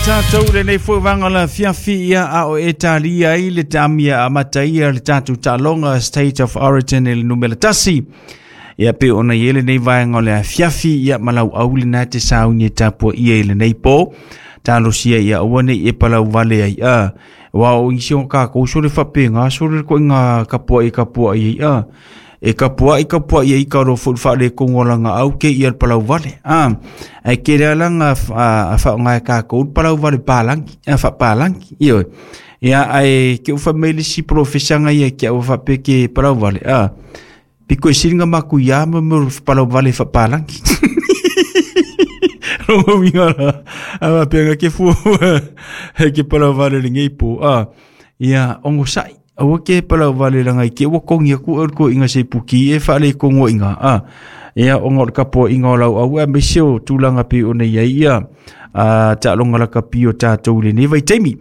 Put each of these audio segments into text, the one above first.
Tatou lenei foi vaega o le afiafi ia a o e talia ai le taamia amata ia le tatou taaloga State of Origin i le numera 1. Ia pe ona i ai lenei vaega o le afiafi ia ma lau au lena te sauni e tapuaia i lenei po. Talosia ia aua ne i e palau vale ai a. Wa o isi o kākou sole faapena sole koinga kapuaʻi kapuaʻi ai a. E kapuaʻi kapuaʻi ai ka ro foi faaletonu o lana au ke ia le palau vale a. Ae tele lava lana faaaoga e kākou le palau vale palagi a faapalagi ioe. Ia ae ke ou fai mai le isi polofesa ia ia te au faapea ke palau vale a. Pito e sili na matuia ma mea o le palau vale faapalagi. Lona uiga la, a faapea na ke fua ke palau vale lenei po a. Ia onosai aua ke palau vale langa i ke ua kongi aku e le koiga se puki e faaletonu ai ina a. Ia ona o le tapuaiga o lau au aemaise o tulaga pei ona i ai ia a taaloga lakapi o tatou i lenei vaitaimi.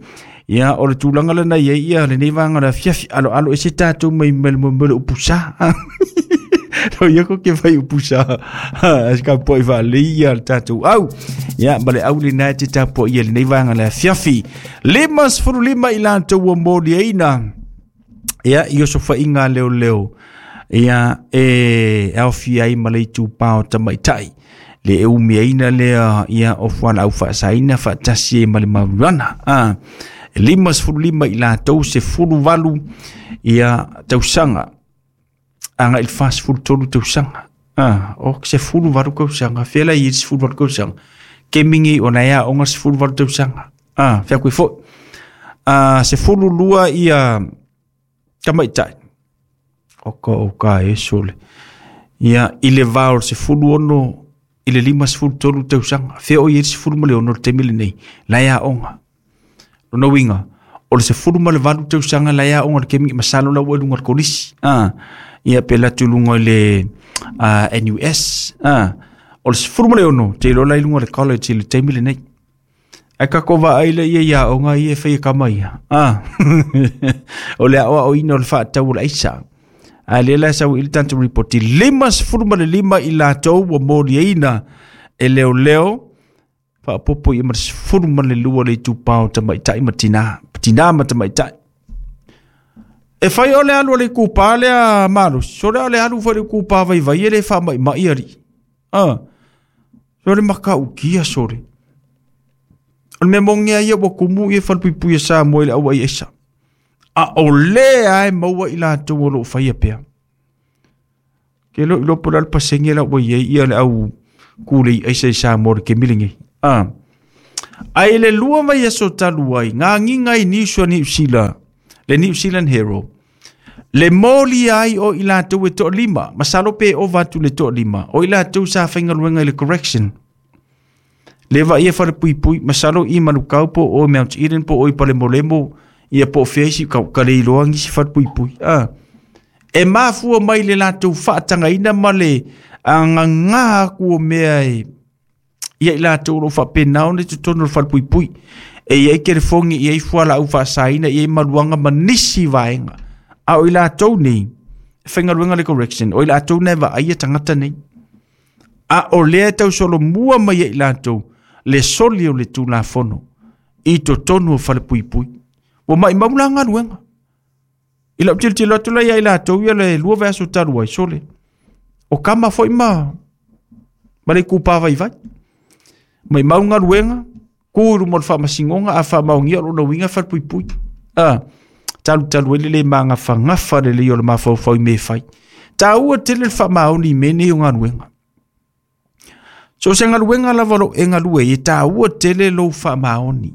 Ia o le tulaga lena i ai ia lenei vaega o le afiafi aloalo ese tatou mai mai le mo le upu sa. No ia ko ke fai upu sa. As ka poi faalelei ia le tatou au. Ia ma le au lena e te tapuaia i lenei vaega o le afiafi. 55 i latou ua moliaina ia i osofaiga a leoleo ia e aofia ai ma le itupa o tamaitai le e umiaina lea ia o fualaau faasaina faatasi ai ma le marijuana. A 55 i latou 18 ia tausaga agai i le 43 tausaga. A o 18 tausaga fea la i ai le 18 tausaga kemi nei ona e aoga le 18 tausaga. A fea koe foi. A 12 ia tamaitai o ka o ka e sole. Ia i le va o le 16 i le 53 tausaga. Fea o i ai le 16 le taimi lenei la e aoga. Lona uiga, o le 18 tausaga la e aoga le kemi masalo la ua i luga o le kolisi. A ia pe alu atu i luga i le NUS. A o le 16 te iloa la i luga o le college i le taimi lenei. Ae tatou vaai lea ia i aoga ia e fai e tama ia. A o le aoaoina o le faatau o le aisa. A lea la e sau i le tatou report 55 i latou ua moliaina e leoleo faaopoopo ia ma le 12 le itupa o tamaitai ma tina, tina ma tamaitai. E fai o le alu a le itupa lea malosi, sole o le alu foi le itupa vaivai e le faamaimai alii. Ah, sole matautia sole. O le mea moni lava ia ua tumu ia falepuipui a Samoa i le auai aisa. A o lea e maua i latou o lo o faia pea. Ke lo iloa po o le a le pasene la ua i ai ia le au kulei aisa i Samoa i le taimi lenei. Ah. Ae i le lua vaiaso talu ai, ngā agiga i Niusa Niu Sila, le New Zealand Herald, le molia ai o i latou e toalima, masalo pe ova atu le toalima, o i latou sa faigaluega i le correction. Le vaaia falepuipui, masalo i Manukau po o Mount Eden po o i Palemolemo, ia po o fea isi, ka, ka le iloa nisi falepuipui. Ah. E mafua mai le latou faatagaina ma le agagā atu o mea e ia i latou o lo o faapena ona i totonu o le falepuipui. E i ai telefoni, e i ai fualaau faasaina, e i ai maluaga ma nisi vaega. A o i latou nei, e faigaluega le correction, o i latou nei e vaaia tagata nei. A o lea e tausolomua mai ai i latou le soli o le Tulafono i totonu o falepuipui. Ua maimau la galuega. I lau tilotilo atu la ia i latou ia le lua vaiaso talu ai, sole. O kama foi ma le itupa vaivai. Maimau galuega, tu i luma o le faamasinoga, a faamaonia o lona uiga e falepuipui. A, talutalu ai le le magafagafa lelei o le mafaufau i mea e fai. Taua tele le faamaoni i mea nei o galuega. So o se galuega lava o lo o e galue ai, e taua tele lou faamaoni.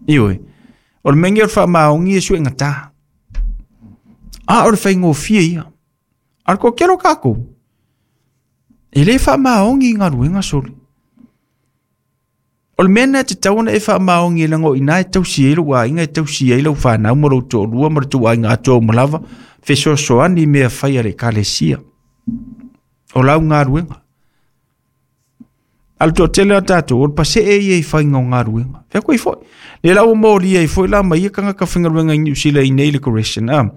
Ioe, o le mea lenei o le faamaoni e suegata. A o le faigofie ia. A o le toatele o tatou, e le faamaoni i galuega sole. O le mea lena e tatau ona e faamaoni leaga o i ina e tausi ai lou aiga, e tausi ai lau fanau ma lou toalua ma le tou aiga atoa uma lava, fesoasoani i mea fai a le Ekalesia. O lau galuega. A o le toatele o tatou, o le pasee ia i faiga o galuega. Fea koe foi. Le la ua molia ai foi la ma ia tagata faigaluega i Niu Sila i nei le correction. Ah.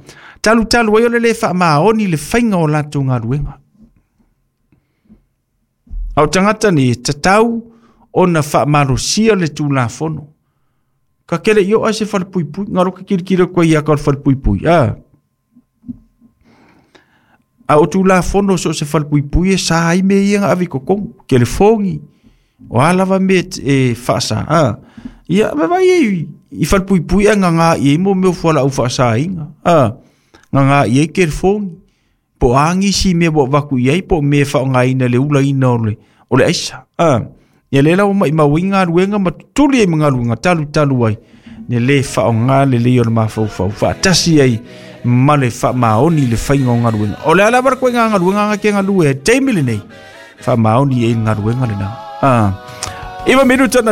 Talu talu ai o le le faamaoni le faiga o latou galuega. A o tagata nei e tatau Ona faamalosia le tulafono. Ka kele i o a se falepuipui, ngaro ke kilikili koe ia ka o le falepuipui. A. A o tulafono so se falepuipui e sa ai me ia nga avi kokong, kelefongi, o a lava me e faasa. A. Ia, me vai e i falepuipui a ngā i mo meo fuala au faasainga. A. Ngā i e kelefongi. Po angi si me wa vaku i ai po me whaongaina le ula ina o le aisa. A. Ia le lau mai mauinga luenga ma tuli ai mga luenga talu talu ai. Ne le whaonga le leo le mawhau wha tasi ai ma le wha maoni le whainga o ngā luenga. O le ala bara koe ngā luenga ngā ke ngā lue, teimi le nei. Wha maoni e ngā luenga le nā. 9 minuta na.